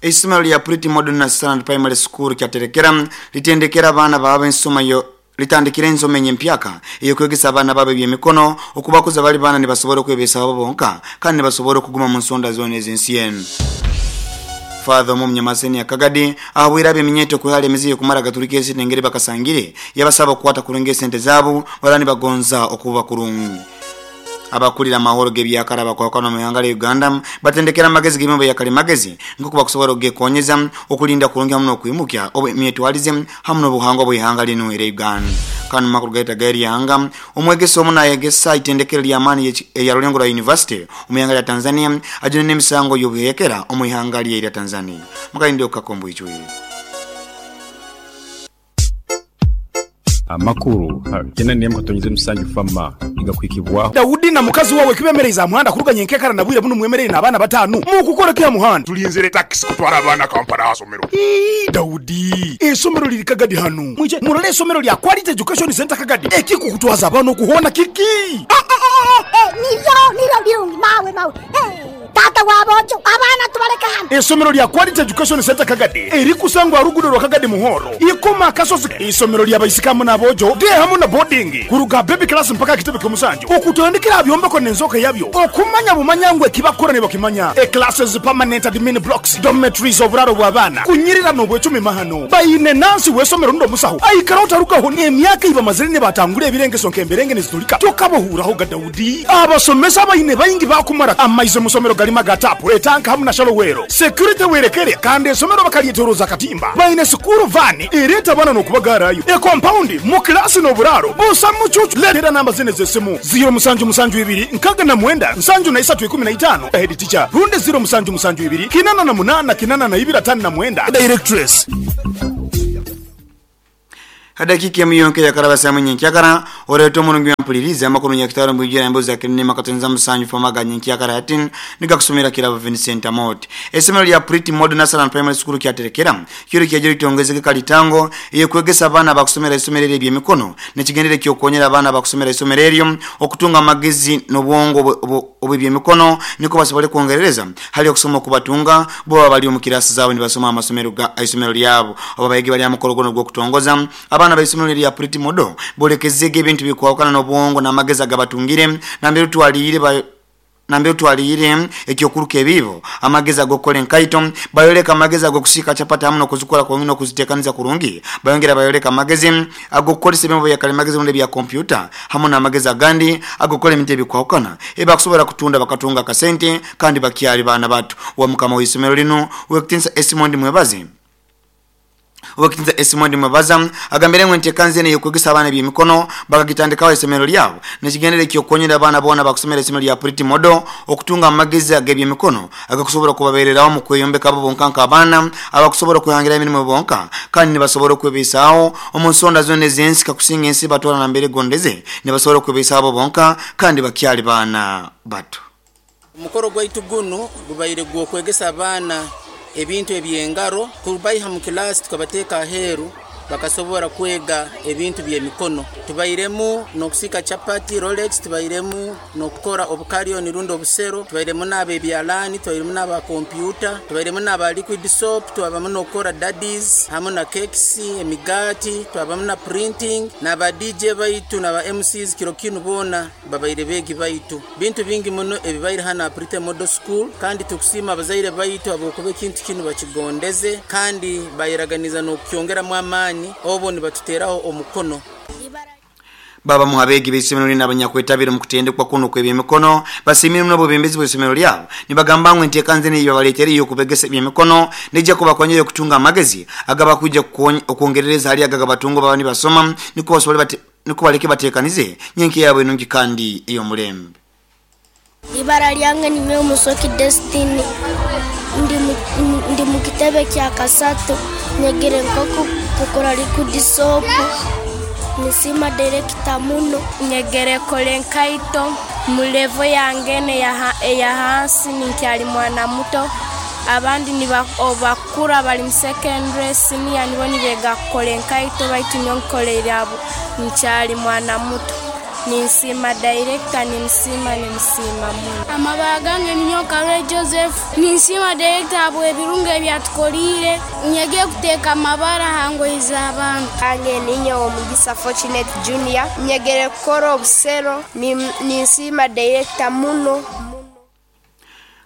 Eisomero lya Pretty Modern Standard Primary School Kyaterekera litendekera abaana baabo ensoma yo litandikire ensoma enyempyaka ey'okwegesa abaana baabo eby'emikono okubakuza bali baana nibasobora okwebesaho bo bonka kandi nibasobora okuguma mu nsonda zoona ez'ensi enu. Father omu Munyamaseni Kagadi ahabwire ab'eminyeeto okwehara emize y'okumara gaturika esente engeri bakasangire yabasaba okukwata kurungi esente zaabo baraba nibagonza okuba kurungi. Abakulira amahoro g'ebyakare abakwahukana omu ihanga lya Uganda batendekere amagezi g'ebyoma byakalimagezi nk'oku bakusobora okugekonyeza okulinda kurungi hamu n'okwimukya emyetwarize hamu n'obuhangwa bw'ihanga linu erya Uganda. Kandi mu makuru gaitu ag'eryanga, omwegesa omu nayegesa itendekero ly'amaani erya Rulengo rwa University omu ihanga lya Tanzania ajunwe n'emisango y'obuhekera omu ihanga lye erya Tanzania. Mukalinde okukaka omu bwijwire. Amakuru ha kyenda n'emu katonyeze musanju Fama nigakuhikibwaho. Daudi na mukazi wawe kibemereize aha muhanda kuruga nyenkekara na bwire bunu mwemereire n'abaana bataanu. Mukukora ki aha muhanda? Tulinzire takisi kutwara abaana Kampala aha somero. Ii, Daudi, eisomero liri Kagadi hanu. Mwije murole eisomero lya Quality Education Centre Kagadi. Ekikukutwaza abaana okuhoona kiki? Niryo, niryo birungi mawe, mawe. Taata wa boojo, abaana tubaleke hanu. Eisomero lya Quality Education Centre Kagadi erikusangwa aha luguudo rwa Kagadi Muhoro, Ikoma Akasozi. Eisomero lya baisiki hamu n'aboojo, day hamu na boarding, kuruga aha baby class mpaka aha kitebe ky'omusanju, okutandikira aha byombeko n'enzooka yabyo, okumanya bumanya ngu ekibakukora nibakimanya. E Classes, permanent admin blocks, dormitories, oburaaro bw'abaana, kunyirira n'obwecumi mahano. Baine nansi w'eisomero rundi omusaho aikaraho tarugaho n'emyaka ei bamazire nibatangura ebirengeso nk'emberenge nizitulika. Tokabahuuraho ga Daudi. Abasomesa abaine baingi baakumara amaizi omu somero garimu aga taapu, etanka hamu na shallow well. Security werekere kandi esomero bakaryetoroza akatimba. Baine sikuuru vaani ereeta abaana n'okubagaarayo. Ekompaundi mu kilaasi n'oburaaro busa mucuucu. Leetera namba zinu ez'esimu, ziiro musanju musanju ibiri nkaaga na mwenda nsanju na isatu ikumi na itaano, Head teacher, rundi ziiro musanju musanju ibiri kinana na munaana kinana na ibiri ataano na mwenda, Directress. Edakiika emu yonka eyakaraba saaha imwe nyenkyakara, oreeta omurungi w'empuliriza amakuru nyakitara omu bwijwire emboozi za Kirinema Katonza Musanju Fama aga nyenkyakara hati nigakusomera Kirabo Vincent Amooti. Eisomero lya Pretty Model Nursery and Primary School Kyaterekera kiro kyaija litongezege kalitango ey'okwegesa abaana abakusomera eisomero eryo eby'emikono n'ekigendererwa eky'okukonyera abaana abakusomera eisomero eryo okutunga amagezi n'obwongo obw'eby'emikono nikwo basobole kwongerereza hali okusoma okubatunga bo baba bali omu kiraasi zaabo nibasoma aha masomero ga isomero lyabo. Obu abayegi bali aha mukoro gunu ogw'okutongoza, abaana b'eisomero erya Pretty Model bolekezege ebintu ebikwahukana n'obwongo n'amagezi agabatungire nambere otwaliire ba Nambere otwaliire eky'okuruka ebiibo, amagezi ag'okukora enkaito, bayoleka amagezi ag'okusiika chapati hamu n'okuzikora kurungi n'okuziteekaniza kurungi. Bayongera bayoleka amagezi ag'okukozesa ebyoma bya kalimagezi rundi ebya kompyuta hamu n'amagezi agandi ag'okukora ebintu ebikwahukana ebi bakusobora kutunda bakatunga akasente kandi bakyali baana bato. Wa mukama w'eisomero linu, Ow'ekitinisa Esmond Mwebaze, Ow'ekitinisa Esmond Mwebaza agambire ngu enteekaniza enu ey'okwegesa abaana eby'emikono bakagitandikaho ha isomero lyabo n'ekigendererwa eky'okukonyera abaana boona abakusomera isomero lya Pretty Model okutunga amagezi ag'eby'emikono agakusobora kubabereraho omu kweyombeka bo bonka nk'abaana abakusobora okwehangiraho emirimo bonka kandi nibasobora okwebeisaaho omu nsonda zoona ez'ensi kakusinga ensi batwara nambere egondeze nibasobora okwebeisaaho bo bonka kandi bakyali baana bato. Omukoro gwaitu gunu gubaire gw'okwegesa abaana ebintu eby'engaro, kubaiha mu kilaasi tukabateeka aheeru bakasobora kwega ebintu by'emikono. Tubairemu n'okusiika chapati, rolex, tubairemu n'okukora obukaryoni rundi obusero, tubairemu n'ab'ebyalaani, tubairemu n'aba kompyuta, tubairemu n'aba liquid soap, twabamu n'okukora daddies hamu na cakes, emigaati, twabamu na printing, n'aba DJ baitu n'aba MCs kiro kinu boona Babaire beegi baitu. Bintu bingi muno ebibaire hanu aha Pretty Model School kandi tukusiima abazaire baitu habwokuba ekintu kinu bakigondeze kandi bayeraganiza n'okukyongeramu amaani obu nibatuteraho omukono. Babamu ha beegi b'eisomero linu abanyakwetabire omu kutendekwa kunu okw'ebyemikono basiimire muno obwebembezi bw'eisomero lyabo nibagamba ngu enteekaniza enu eyibabaleeteire ey'okubegesa ebyemikono neija kubakonyera okutunga amagezi agabakwija okwongerereza hali ago agabatunga obu baba nibasoma nukwo basobole Nukwo baleke bateekanize nyenkya yaabo enungi kandi ey'omulembe. Ibara lyange ninyowe Musoki Destiny, ndi mu kitebe kya kasatu, nyegere nk'oku kukora liquid soap, ninsiima dayirekita muno. Nyegere kukora enkaito mu levo yange enu eya hansi ninkyali mwana muto. Abandi obubakukura bali mu secondary, senior nibo nibega kukora enkaito baitu nyowe nkoleire nkyali mwana muto. Ninsiima director, nimusiima, nimusiima muno. Amabara gange ninyowe Karole Joseph. Ninsiima director habw'ebirungi ebyatukoliire. Nyegere kuteeka amabara ha ngoye z'abantu. Ange ninyowe Omugisa Fortunate Junior. Nyegere kukora obusero. Ninsiima director muno.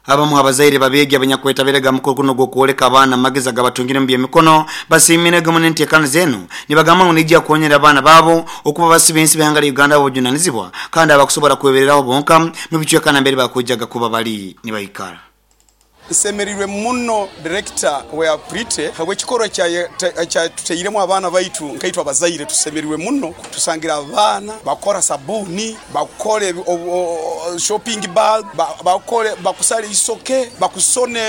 Abamu abazaire babegi abanyakwetabiraga mukuru kuno gwokwoleka abaana amagezi agabatungire mu byemikono basiimire gamu n'enteekano zenu nibagamba ngu nijja kukonyera abaana baabo okuba basiba ensi b'ihanga lya Uganda obujunanizibwa kandi abakusobola kwebereraho bonka mu bicweka nambere bakujjaga kuba bali nibaikara. Nsemereirwe muno director wa Prite habw'ekikorwa kyatuteiremu abaana baitu nkaitwe abazaire tusemereirwe muno. Tusangira abaana bakora sabuni, bakora shopping bag, bakore bakusala isoke, bakusone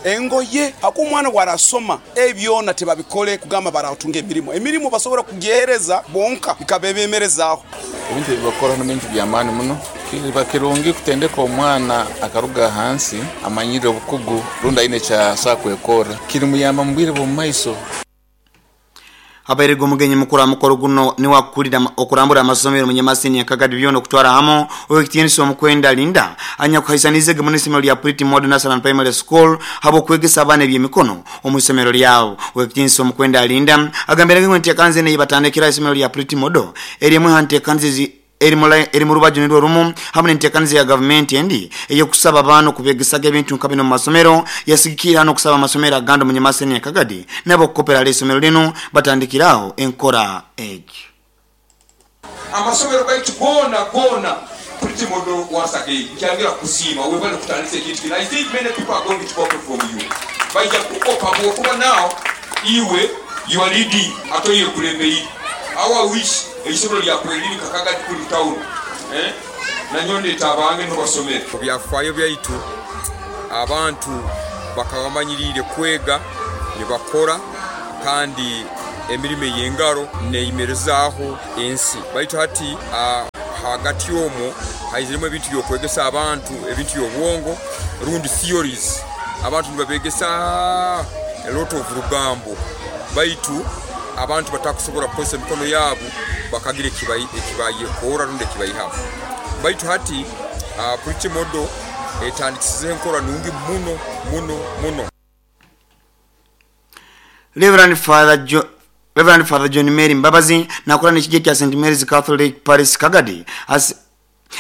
engoye. Haku omwana bwarasoma ebyona tebabikole kugamba baratunga emirimo. Emirimo basobora kugihereza bonka ikabebemerezaaho. Ebintu ebibakora n'ebintu by'amaani muno. Kiba kirungi kutendeka omwana akaruga hansi amanyire obukugu rundi aine ekyasobola kwekora kirimuyamba mu bwire bw'omu maiso. Abairego omugenyi mukuru amukoro guno niwakulira okurambura amasomero munyamasini yakagadi byona okutwara hamo owekitiinisa omukwenda Linda anyakuhaisanize munisomero lya Pretty Modern National Primary School habo kwegesa abaana ebyemikono omu isomero lyabo. Owekitiinisa omukwenda Linda agambiraga ngu enteekanze neyibatandikira isomero lya Pretty Model erimu hanteekanze eri mu rubaju nirwo rumu hamwe n'enteekaniza ya gavumenti endi ey'okusaba abaana okubegesaga ebintu nka bino mu masomero yasigikira n'okusaba amasomero agandi omunyamasini yakagadi nabo okukopera ala isomero linu batandikiraho enkora egyo. Amasomero gaitu gona gona Pretty Model once again nkyangira kusiima webale kutandisa ekintu kino. I think many people are going to copy from you. Baija kukopa bwokuba now iwe you are leading ate iye kulembeire. Our wish eisomero lyakweri kakagadi kuli town nanyo abange nobasomere. Byafaayo byaitu abantu bakabamanyirire kwega nibakora kandi emirimo ey'engaro neimerezaaho ensi. Baitu hati hagati omwo haiziremu ebintu byokwegesa abantu ebintu by'obwongo rundi theories. Abantu nibabegesa a lot of rugambo baitu abantu batakusobola kukozesa emikono yabo bakagira ekibayekora rundi ekibayihamu. Baitu hati Pretty Model etandikisizeho enkora nungi muno muno muno. Reverend Father John Mary Mbabazi nakora n'ekijja kya St Mary's Catholic Parish Kagadi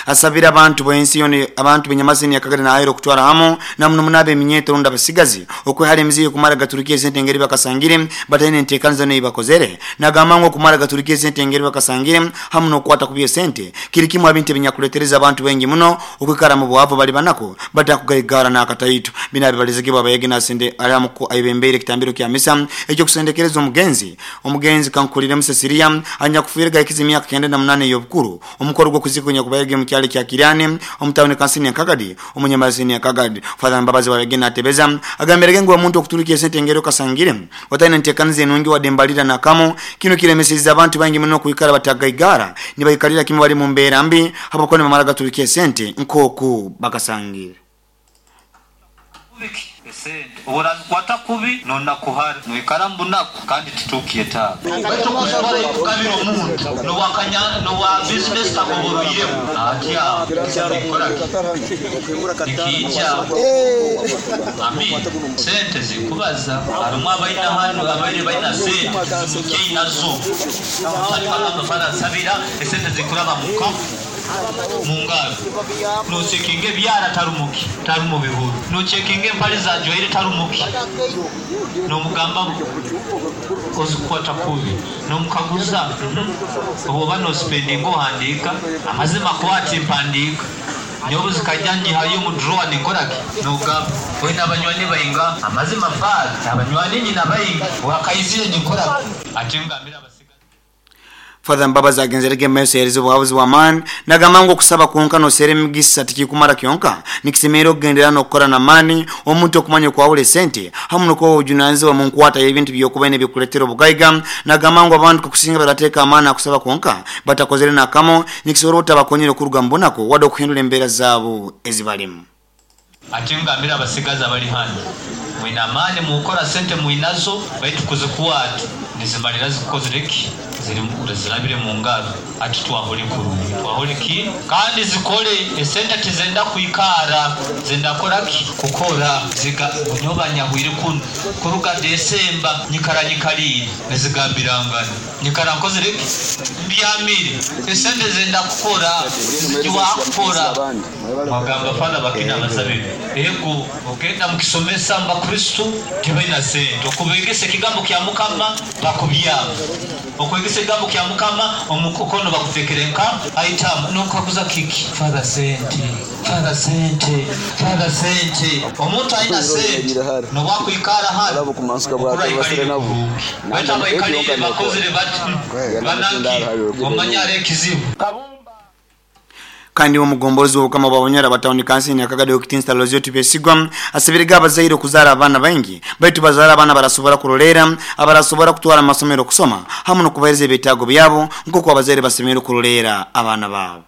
asabira abantu b'ensi yona abantu b'enyamasini ya Kagadi naayero okutwara hamo namuno munabe eminyeto rundi abasigazi okwehara emizigo okumara gaturukia esente engeri bakasangire bataine enteekaniza niyo bakozere. Nagamba ngu okumara gaturukia esente engeri bakasangire hamu n'okukwata ku by'esente kiri kimu ebintu ebinyakuletereza abantu baingi muno okwikara mu bwavu bali banako batakugaigara n'akataitu. Bino abibalizigibwa abayege nasende aramuku aibembeire ekitambiro kya misa ekyokusendekereza omugenzi kankuliremu Cecilia anyakufiire gaikiza emyaka 98 ey'obukuru. Omukoro gw'okuzikunya kubayege mukyalo kya Kirane omutawuni kansini ya Kagadi omunyamasini ya Kagadi. Father Mbabazi wabegena atebeza agambirege ngu omuntu okuturukia esente engeri okasangire wataine enteekaniza enungi wadembalira nakamo kino kiremeseza abantu bangi muno okuikara batagaigara nibaikalira kimwe bali mu mbeera mbi habwokuba nibamara gaturukia esente nk'oku bakasangire. Urazikwata kubi nonakuhara noikara mbunaku kandi titukiye tawe baitu kuzikora ikukabira omuntu nowakanya nowa business takoboruyiremu atya nikija ami sente zikubaza harimu abaina hano abaire baina sente zimukye nazo sabira esente zikuraba muka mungaro nosekinge byara tarumuki tarumu bihuru nochekinge empali za jwaire tarumuki nomugamba ozikwata kubi nomukaguza oba no spending ohandika amazima kwati mpandika nyobu zikajya nyihayo mu drawer nikoraki nogamba oina abanywani bainga amazima fad abanywani nyina bainga wakaizire nikoraki ati ngambira. Father Mbabazi agenzerege meso yerizo buhabuzi wa man nagamba ngu okusaba kwonka nosera emigisa tikikumara kyonka nikisemera okugendera n'okukora n'amaani omuntu okumanya okwawula esente hamu n'okuba obujunanizibwa mu nkwata y'ebintu by'okuba n'ebikuleetera obugaiga. Nagamba ngu abantu kukusinga barateeka amaani akusaba kwonka batakozere nakamo nikisobola obutabakonyera okuruga mu bunaku wadde okuhindura embeera zaabo ezibalimu. Ati ngambira abasigazi abali hano mwina amaani mukora sente mwinazo baitu kuzikwata nizimalira zikozereki Zirabire mu ngaro ati twahole kurungi, twahole ki kandi zikole. Esente tizenda kwikara, zenda kora ki? Kukora. Ziga nyoba nyahwire kunu kuruga Desemba, nyikara nyikalire nizigambirangana, nyikara nkozire ki? Mbyamire. Esente zenda kukora, zikiwakukora. Mwagamba fala bakina abasabire ego, ogenda mukisomesa mubakristu tibaina sente, okubegesa ekigambo kya Mukama bakubyama, okwegesa ekigambo kya Mukama omukono bakutekere nka aitamu nokakuza kiki? Father sente, father sente, father sente. Omuntu aina sente nobwakwikara hano okuraikalire kurungi, baitu abaikalire bakozire bati bananki omanya ari ekizibu. Kandi omugombolozi w'obukama bwa Bunyoro abatawuni kansini akagade okitinsa Lozio Tibesigwa asabiriga abazaire okuzaara abaana baingi, baitu bazaara abaana barasobora kuroleera, abarasobora kutwara mu masomero okusoma hamu n'okubahereza ebyetaago byabo nk'oku abazaire basemereire kuroleera abaana baabo.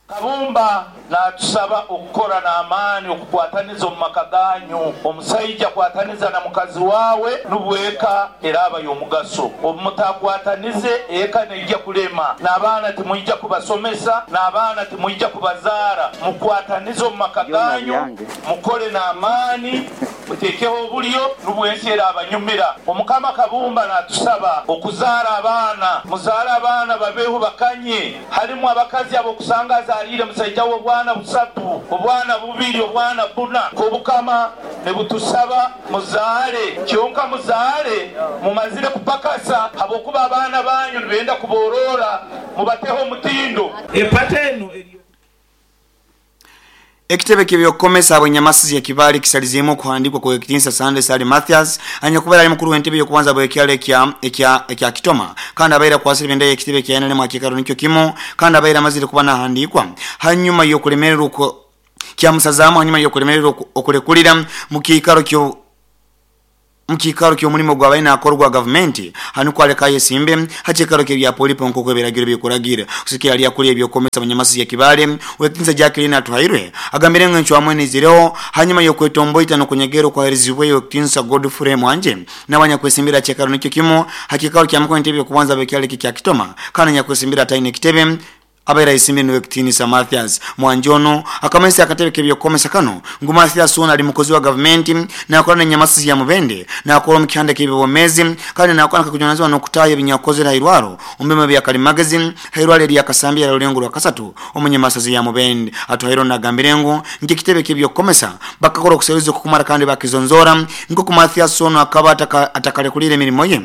Kabumba natusaba okukora n'amaani okukwataniza omu maka ganyu. Omusaija kwataniza na mukazi wawe nubwo eka eraaba y'omugaso. Obu mutakwatanize eka neija kulema, n'abaana timwija kubasomesa, n'abaana timwija kubazaara. Mukwatanize omu maka ganyu, mukole n'amaani, mutekeho obulyo nubwo ensi erabanyumira. Omukama Kabumba natusaba okuzaara abaana. Muzaale abaana babeho bakanye. Halimu abakazi ab'okusanga azaliire musaija we obwana busatu, obwana bubiri, obwana buna. K'Obukama nibutusaba muzaale, kyonka muzaale mumazire kupakasa, habwokuba abaana banyu nibenda kuborora, mubateho omutindo. Epata eno eri. Ekitebe ky'ebyokukomesa habw'enyamasizi ya Kibaale kisalizeemu okuhandiikwa kw'Owekitinsa Sunday Ssali Mathias anyakubaire ali mukuru w'entebe y'okubanza bw'ekyaro ekya ekya ekya Kitoma kandi abaire akwasire ebendera y'ekitebe ekya NRM ha kiikaro nikyo kimu kandi abaire amazire kuba nahandiikwa hanyuma y'okulemererwa kyamusazaamu hanyuma y'okulemererwa okulekulira mu kiikaro kyo Mu kiikaro ky'omulimo ogwabaire naakora ogwa gavumenti, hanu kwaleka ayesimbe ha kiikaro ky'ebya Polipo nk'oku ebiragiro bikuragira. Kusigikira hali akulira eby'okwomesa Abanyamasizi ya Kibaale, Ow'ekitinisa Jacqueline Atuhairwe, agambire ngu encwamu enu eizireho hanyuma y'okwetomboita n'okunyegerra okwaherizibweyo Ow'ekitinisa Godfrey Mwanje nawe anyakwesimbire ha kiikaro nikyo kimu ha kiikaro kya mukuru w'entebe y'okubanza ab'ekyaro eki ekya Kitoma kandi anyakwesimbire ataine kitebe. Abaire aisimbire niwe Kitiinisa Mathias Mwanje ono akamanyisa akatebe k'ebyokukomesa kanu ngu Mathias ono ali mukozi wa gavumenti nakora n'enyamasizi ya Mubende, nakora omu kihanda ky'ebyobwomeezi kandi nakora nkakujunanizibwa n'okutaaha ebinyakukozere ha irwaro omu byoma bya kalimagezi ha irwaro erya Kasambya erya Rulengo Rwakasatu omu nyamasazi ya Mubende. Atuhaire ono agambire ngu nk'ekitebe ky'ebyokukomesa bakakora okuseruliza okukumara kandi bakizonzoora nk'oku Mathias ono akaba atakalekuliire emirimo ye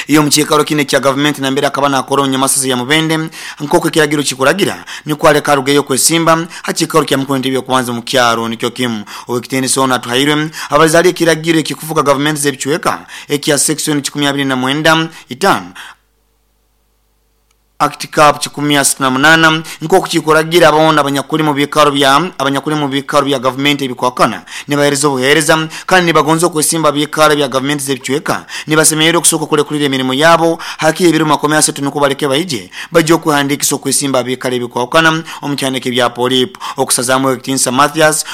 Iyo omu kiikaro kinu ekya gavumenti nambere akaba nakora omu nyamasaza ya Mubende nk'oku ekiragiro kikuragira, nukwo aleke arugeyo kwesimba ha kiikaro kya mukuru w'entebe y'okubanza omu kyaro nikyo kimu. Ow'ekitiinisa onu Atuhairwe abalize hali ekiragiro ekikufuga gavumenti z'ebicweka ekya section kikumi abiri na mwenda itaano, Act Cap 168, nk'oku kikuragira boona abanyakuli mu biikaro bya abanyakuli mu biikaro bya gavumenti ebikwakana nibaheereza obuheereza kandi nibagonza okwesimba biikaro bya gavumenti z'ebicweka nibasemererwa okusooka okulekulira emirimo yaabo hakiri ebiro 30 nukwo baleke baije baije okwehandiikisa okwesimba biikaro ebikwahukana omu kihandiiko ebya Polip okusazaamu Ow'ekitiinisa Mathias.